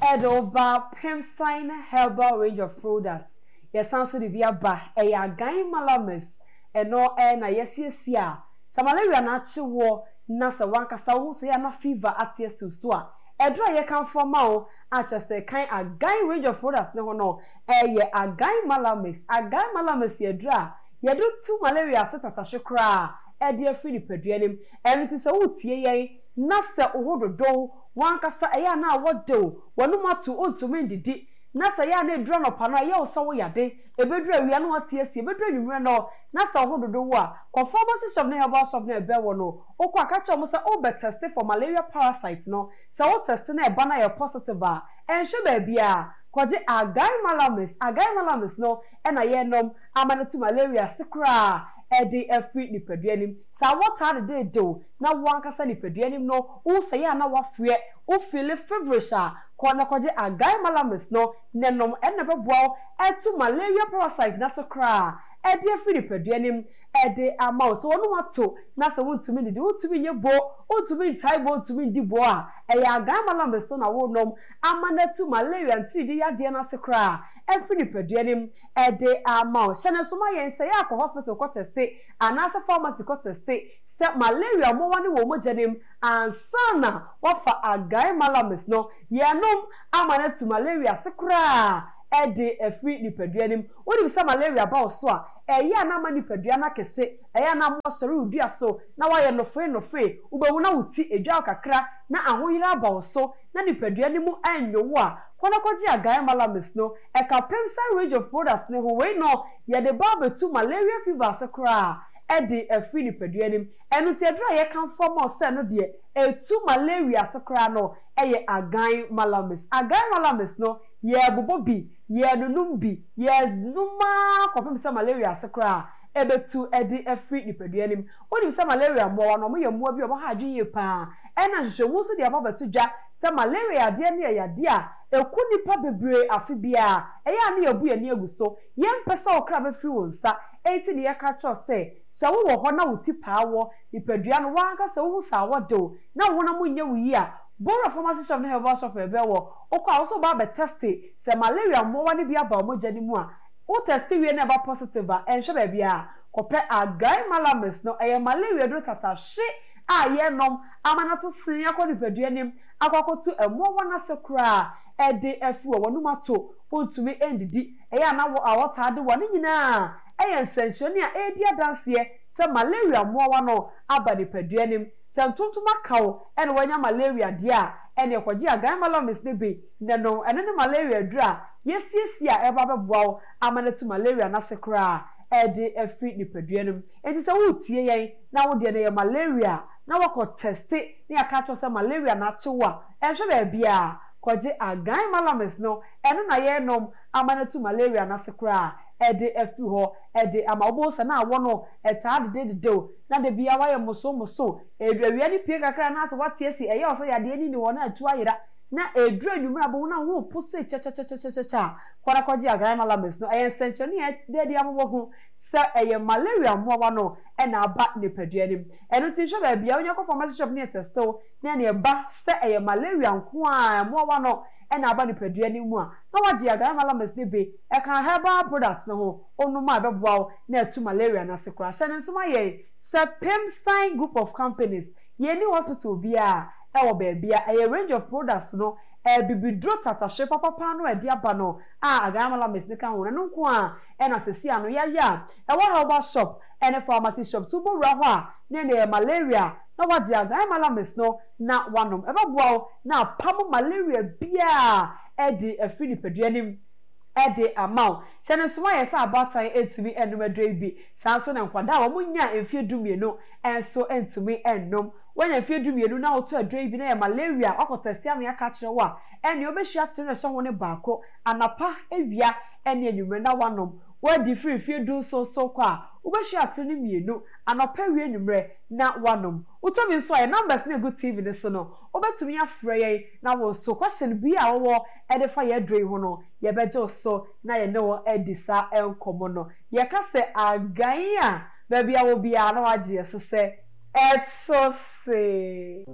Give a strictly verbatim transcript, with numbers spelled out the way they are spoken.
Ɛde wo ba Pimsign Herbal range of products. Yɛsan so de bi aba, ɛyɛ Agan Malamis. Ɛno ɛna yɛsiesie a sɛ malaria na akye wɔ na sɛ wankasa wo ho sɛ yɛ na fever ate asiw so a, ɛduro a yɛkamfo ama wo akyerɛ sɛ kan Agan range of products ne ho no ɛyɛ Agan Malamix. Agan Malamix yɛ duro a yɛde tu malaria ase tatahye koraa ɛde afiri nipadua nim. Ɛno ti sɛ wotie yɛn na sɛ wo ho dodow wankasa ɛyɛ a na awɔ wo wɔnom ato, wontumi ndidi, na sɛ yɛ a na eduru anɔpa no a ɛyɛ wo sɛ woyade, ebeduru awia na wate asi, ebeduru anwummerɛ no na sɛ wo ho dodo wo a, kɔ pharmacy shop ne herbal shop na ɛbɛn wɔ no. Wokɔ aka kyerɛ wɔn sɛ wobɛ test for malaria parasite no. Sɛ wo test na ɛba na yɛ positive a, ɛnhwɛ baabi a kɔgye Agan Malamis. Agan Malamis no ɛna yɛnom ama no tu malaria se koraa ɛde afiri nipadua nim. Sɛ awɔ taa dedeedew na wɔn ankasa nipadua nim no, wo sɛ yɛ a na wafrɛ wo feel feverish a, kɔ na kɔgye Agan Malamis no ne nom. Ɛna bɛboa wo ɛtu malaria parasite n'ase koraa ɛde afiri nipadua nim ɛde ama wo. Sɛ wɔn ato na sɛ wontumi didi, wontumi nye bo, wontumi ntae bo, wontumi ndi bo a, ɛyɛ Agan Malamis no na wɔnom ama no atu malaria ntiridi yadeɛ n'ase koraa ɛfiri nipadua nim ɛde ama wo. Hyɛ ne nso ma yɛn sɛ yɛ akɔ hospital kɔ test anaasɛ pharmacy kɔ test sɛ malaria mmoawa ne wɔ mogya nim ansa na wafa Agan Malamis no yɛnom ama no atu malaria ase koraa ɛde afiri nipadua nim. Wonim sɛ malaria ba wo so a, ɛyɛ a na ama nipadua no akɛse, ɛyɛ a na ama sɔre wo dua so na wayɛ nɔfoe nɔfoe. Wobɛhu na wo ti edwa wo kakra na ahoyere aba wo so na nipadua no mu ɛnyo wo a, kɔ na kɔgye Agan Malamis no. Ɛka Pimsign range of products ne ho. Wei no yɛde ba abɛtu malaria fever ase koraa ɛde afiri nipadua nim. Ɛno nti aduru a yɛkamfo ama wo sɛ no deɛ ɛtu malaria ase koraa no ɛyɛ Agan Malamis. Agan Malamis no, yɛbobɔ bi, yɛnunum bi, yɛnum kɔpem sɛ malaria ase koraa ɛbɛtu ɛde afiri nipadua nim. Wonim sɛ malaria mmoawa no, ɔmo yɛ mmoa bi a ɔmo ha adwene yie paa. Ɛna nhwehwɛmu nso de aba bɛto dwa sɛ malaria adeɛ no yɛ yadeɛ a ɛku nipa bebree afe biara. Ɛyɛ a ne yɛbu yɛn ani agu so. Yɛmpɛ sɛ ɔkra bɛfiri wo nsa, enti ne yɛka kyerɛw sɛ sɛ wowɔ hɔ na wo ti paa wɔ nipadua no wankasa wohu sɛ awɔ de wo na wo honam nyɛ wo yie a, bɔwura pharmacy shop ne herbal shop ɛbɛn wɔ. Wokɔ a, wo sɛ wobaa bɛ test sɛ malaria mmoawa no bi aba wo mogya no mu a, wo test wie na ɛba positive a, ɛnhwɛ baabi a kɔpɛ Agan Malamis no. Ɛyɛ malaria duro tatahye a yɛnom ama no ato sen akɔ nipadua nim akɔ akɔto mmoawa no ase koraa ɛde afiri wɔ wɔnom ato, wontumi ndidi, ɛyɛ a na wɔ awɔ de wɔ ne nyinaa ɛyɛ nsɛnkyerɛnne a ɛredi adanseɛ sɛ malaria mmoawa no aba nipadua nim. Sɛ ntontom aka wo ɛna wɔanya malaria deɛ a, ɛne ɛkɔgye Agan Malamis no bi ne no. Ɛno ne malaria duro a yɛsiesie a ɛba bɛboa wo ama no atu malaria n'ase koraa ɛde afiri nipadua no mu. Nti sɛ woretie yɛn na wo deɛ no yɛ malaria na wakɔ test ne aka kyerɛ sɛ malaria na akye wo a, ɛnhwɛ baabi a kɔgye Agan Malamis no. Ɛno na yɛnom ama no atu malaria n'ase koraa ɛde afiri hɔ ɛde ama wo. Sɛ na awɔ no ɛtaa dedededew na de bia wayɛ moso moso, edu awia ne pie kakra na asɛ wate asi, ɛyɛ ɔsɛ yadeɛ ni ni hɔ na atu ayera, na eduru anwummerɛ abɔ na ho po se kyɛkyɛkyɛkyɛkyɛ a, kɔda kɔgye Agan Malamis no. Ɛyɛ nsɛnkyerɛnne a ɛde adi amobɔ ho sɛ ɛyɛ malaria mmoawa no ɛna aba nipadua nim. Ɛno nti nhwɛ baabi a wonya kɔ pharmacy shop ne ɛtest na ɛne ɛba sɛ ɛyɛ malaria nko a mmoawa no ɛna aba nipadua no mu a, na wagye Agan Malamis no bi. Ɛka herbal products no ho, onom a ɛbɛboa wo na ɛtu malaria no ase koraa. Hyɛ ne nso ma yɛn sɛ Pimsign Group of Companies, yɛni hospital biara ɛwɔ baabi a ɛyɛ range of products no, ɛbibiduro tatahwe papapa no ɛde aba no a Agan Malamis ne ka ho no nko a ɛna sɛsi ano yɛayɛ a ɛwɔ herbal shop ɛne pharmacy shop to bɔwura hɔ a ne ne yɛ malaria na wagye Agan Malamis no na wanom, ɛbɛboa wo na apam malaria biara ɛde afiri nipadua nim ɛde ama wo. Hyɛ ne nsoma yɛ sɛ abaatan etumi ɛnum aduro yi bi. Saa nso na nkwadaa a wɔn nya mfie du mmienu nso ntumi ɛnum. Wɔnya mfie du mmienu na wɔtɔ aduro yi bi na yɛ malaria wakɔ test ama aka kyerɛ wo a, ɛnea wobɛhyia tere na ɛhyɛ ho ne baako anapa, awia ɛne anwummerɛ na wanom. Wɔadi firi mfie du nson so kɔ a, wobɛhyia tere no mmienu anɔpa, awia, anwummerɛ na wanom. Wotɔ bi nso a, yɛ numbers no egu T V no so no, wobɛtumi afrɛ yɛn na wɔn so question bi a wɔwɔ ɛde fa yɛ aduro yi ho no, yɛbɛgye wo so na yɛne wɔn adi saa nkɔmmɔ no. Yɛka sɛ Agan a, baabi a wɔ biara na wagye yɛ so sɛ ɛto se.